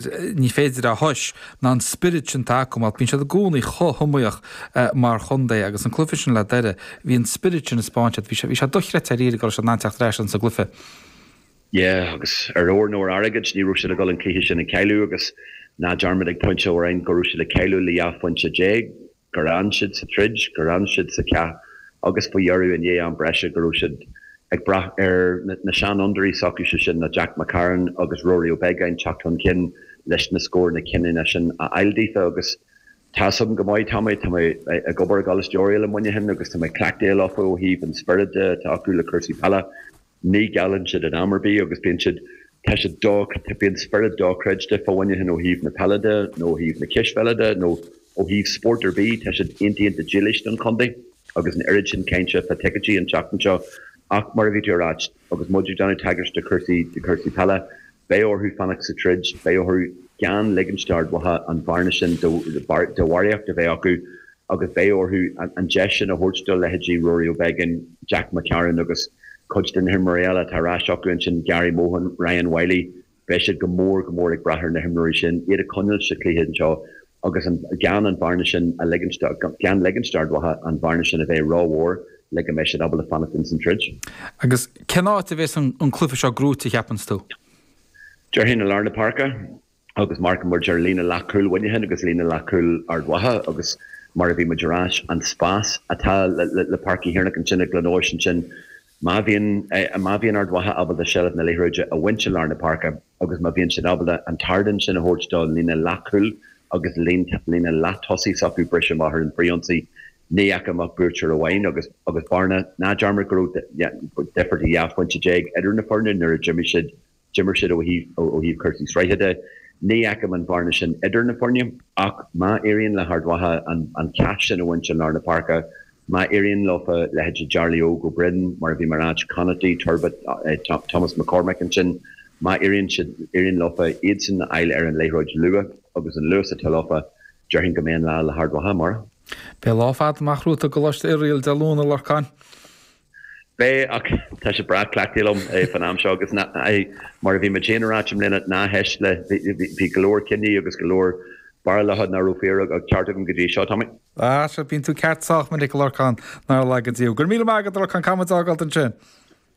Ní féidir a thomhas ná an spiorad sin atá acu mar bíonn siad i gcónaí chomh hiomaíoch mar chontae agus an cluiche sin le Doire, bhí an spiorad sin a 'spáint siad, bhí sé, bhí sé dochreidte dáiríre go raibh siad in ann teacht ar ais insa gcluiche. Yeah agus ar ór nó ar airgead ní raibh siad ag dul an cluiche sin a chailleadh agus ná dearmad ag pointe amháin go raibh siad ag cailleadh le 12 phointe gur fhan siad sa troid, gur fhan siad sa chath agus faoi dheireadh i ndiaidh am breise go raibh siad ag brath ar na seanfhondúirí s'acu, sé sin ná Jack McCarron agus Rory Ó Beagáin teacht chun cinn leis na scóranna cinniúna sin a fháil daofa agus tá's agam go maith, Tommy, tá mé ag obair i gColáiste Oiriall i Muineachán agus tá mé cleachtaithe leofa ó thaobh an spiorad de atá acu le cúrsaí peile. Ní ghéilleann siad in am ar bith agus bíonn siad, tá siad do, bíonn spiorad dochreidte fá Mhuineachán ó thaobh na peile de nó ó thaobh na cispheile de nó ó thaobh spórt ar bith, tá siad iontach iontach dílis don chontae agus an oiread sin cainte fá ticéidí an tseachtain seo ach mar a bhí tú a ráit agus muid ag déanamh tagairt do chúrsaí, do chúrsaí peile, beidh orthu fanacht sa troid, beidh orthu gan ligint d'Ard Mhacha an bhearna sin de bharraíocht a bheith acu agus beidh orthu an deis sin a thabhairt do leithéidí Rory Ó Beagáin, Jack McCarron agus cuid de na himreoirí eile atá ar ais acu ansin, Gary Mohan, Ryan Wylie. Beidh siad go mór go mór ag brath ar na himreoirí sin, iad a choinneáil sa chluiche anseo agus an gan an bhearna sin a ligint, gan ligint d'Ard Mhacha an bhearna sin a bheith rómhór le go mbeidh siad ábalta fanacht ins an troid. Agus cén áit a bheas an cluiche seo gnóite, a cheapanns tú? Déarfainn i lár na páirce agus marcann muid ar líne leathchúil Mhuineacháin agus líne leathchúil Ard Mhacha agus mar a bhí muid ag ráit, an spás atá le Páirc Uí Thiarnaigh ansin i gCluain Eois ansin, má bhíonn má bhíonn Ard Mhacha ábalta seilbh na liathróide a bhaint i lár na páirce agus má bhíonn siad ábalta an t-ardán sin a thabhairt do líne leathchúil agus líne leath-tosaigh s'acu briseadh amach ar an bhfrithionsaí, ní fheicim ach buaiteoir amháin agus agus bearna, ná dearmad go raibh difear de 12 phointe idir na foirne nuair a d'imigh siad d'imir siad ó thaobh ó thaobh cúrsaí sraithe de. Ní fheicim an bhearna sin idir na foirne ach má éiríonn le hArd Mhacha an an cath sin a bhaint i lár na páirce, má éiríonn leofa leithéidí Jarly Óg Ó Broin, mar a bhí mé ag ráit, Conaty, Turbitt, Thomas McCormack ansin, má éiríonn siad éiríonn leofa iadsan a fháil ar an liathróid luath agus an luas atá leofa, déarfainn go mbeidh an lá le hArd Mhacha amárach. Beidh lá fada amach romhat i gColáiste Oiriall Dé Luain, a Lorcáin. Beidh, ach tá sé breá cleachtaithe liom fán am seo agus mar a bhí muid féin a ráit i mbliana, ná héist le, bhí go leor cinní agus go leor barúlacha nach raibh fíor ach ceart agam go dtí seo, Tommy. Ah, sea, bíonn tú ceart sách minic, a Lorcáin, nár laga Dia thú. Go raibh míle maith agat, a Lorcáin, caithfidh muid a fhágáilt ansin.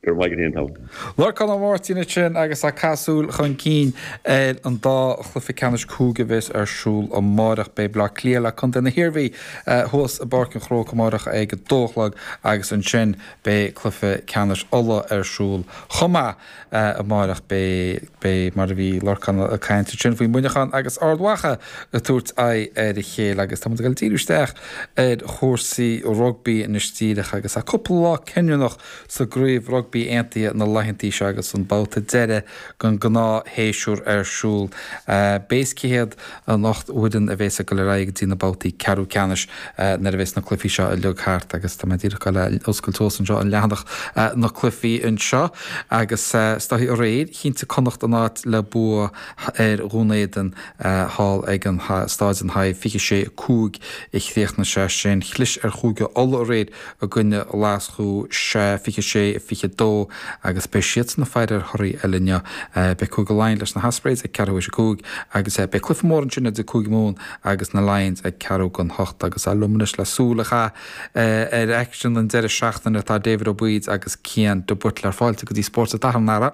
Go raibh maith agat féin, Tommy. Lorcán Ó Máirtín ansin agus ag caitheamh súil chun cinn ar an dá chluiche ceannais cúige a bheas ar siúl amáireach. Beidh Bleá Cliath le Contae na hIarmhí thuas i bPáirc an Chrócaigh amáireach ag a dó a chlog agus ansin beidh cluiche ceannais Uladh ar siúl chomh maith amáireach. Beidh, beidh, mar a bhí Lorcán ag caint ansin faoi Mhuineachán agus Ard Mhacha ag tabhairt aghaidh ar a chéile agus tá muid ag dul díriú isteach ar chúrsaí rugbaí anois díreach agus tá cúpla lá cinniúnach sa gCraobh Rugbaí Aontaithe na laethantaí seo agus an babhta deiridh den ghnáthshéasúr ar siúl. Beidh cé hiad an 8 bhfoireann a bheas ag dul ar aghaidh go dtí na babhtaí ceathrú ceannais nuair a bheas na cluichí seo uilig thart agus tá mé díreach ag dul a oscailt suas anseo an leathanach na cluichí anseo agus is dóichí aréir chinntigh Connacht a n-áit le bua ar Dhún Éideann thall ag an Stáid an Hive 26 5 a chríochnaigh sé sin. Chlis ar Chúige Uladh aréir i gcoinne Ghlaschú, 26, 22 agus beidh siadsan ag faire ar thorthaí eile inniu. Beidh Cúige Laighean leis na hOspreys ag ceathrú théis a 5 agus beidh cluiche mór ansin idir Cúige Mumhan agus na Lions ag ceathrú don hocht agus liom anois le súil a chaitheamh ar aicsean an deireadh seachtaine tá David Ó Baoid agus Cian de Buitléar. Fáilte go dtí Spórt an tSathairn, a fheara.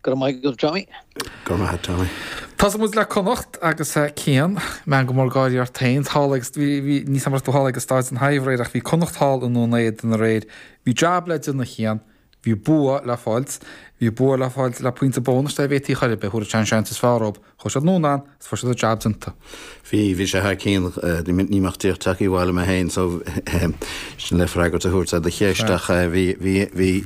Go raibh maith agat, Tommy. Go raibh maith agat, Tommy. Tosóidh muid le Connacht agus Cian, meangadh mór gáirí ort féin thall agus bhí, bhí, níl 's a'm an raibh tú thall ag Stáid an Hive aréir ach bhí Connacht thall i nDún Éideann aréir. Bhí jab le déanamh a Chian, bhí bua le fáilt, bhí bua le fáilt le pointe bónais dá bhféadfaí chor ar bith, thabharfadh sé an seans is fearr dóibh. Chuaigh siad anonn ann agus fuair siad an jab déanta. Bhí, bhí sé thar cionn. Ní mbeadh díreach tagtha abhaile mé féin so sin le freagairt a thabhairt ar do cheist ach bhí, bhí, bhí,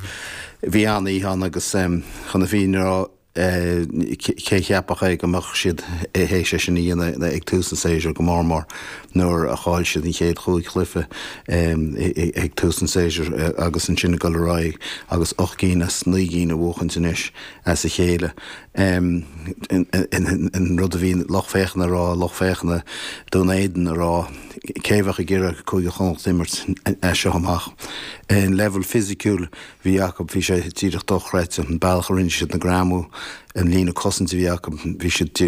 bhí an-oíche ann agus chun na fírinne a rá cé cheapfadh é go mbeadh siad théis é sin a dhéanamh ag tús an tséasúir go mór mór nuair a chaill siad an chéad chúig chluiche ag tús an tséasúir agus ansin ag dul ar aghaidh agus 8 gcinn as 9 gcinn a bhuachaint anois as a chéile. An rud a bhí lucht féachana a rá, lucht féachana Dún Éideann a rá, cé a bheadh ag iarraidh Cúige Chonnacht a imirt as seo amach? An leibhéal fisiciúil a bhí acu, bhí sé díreach dochreidte. An bealach a rinne siad na greamú. an líne cosaint a bhí acu, bhí siad.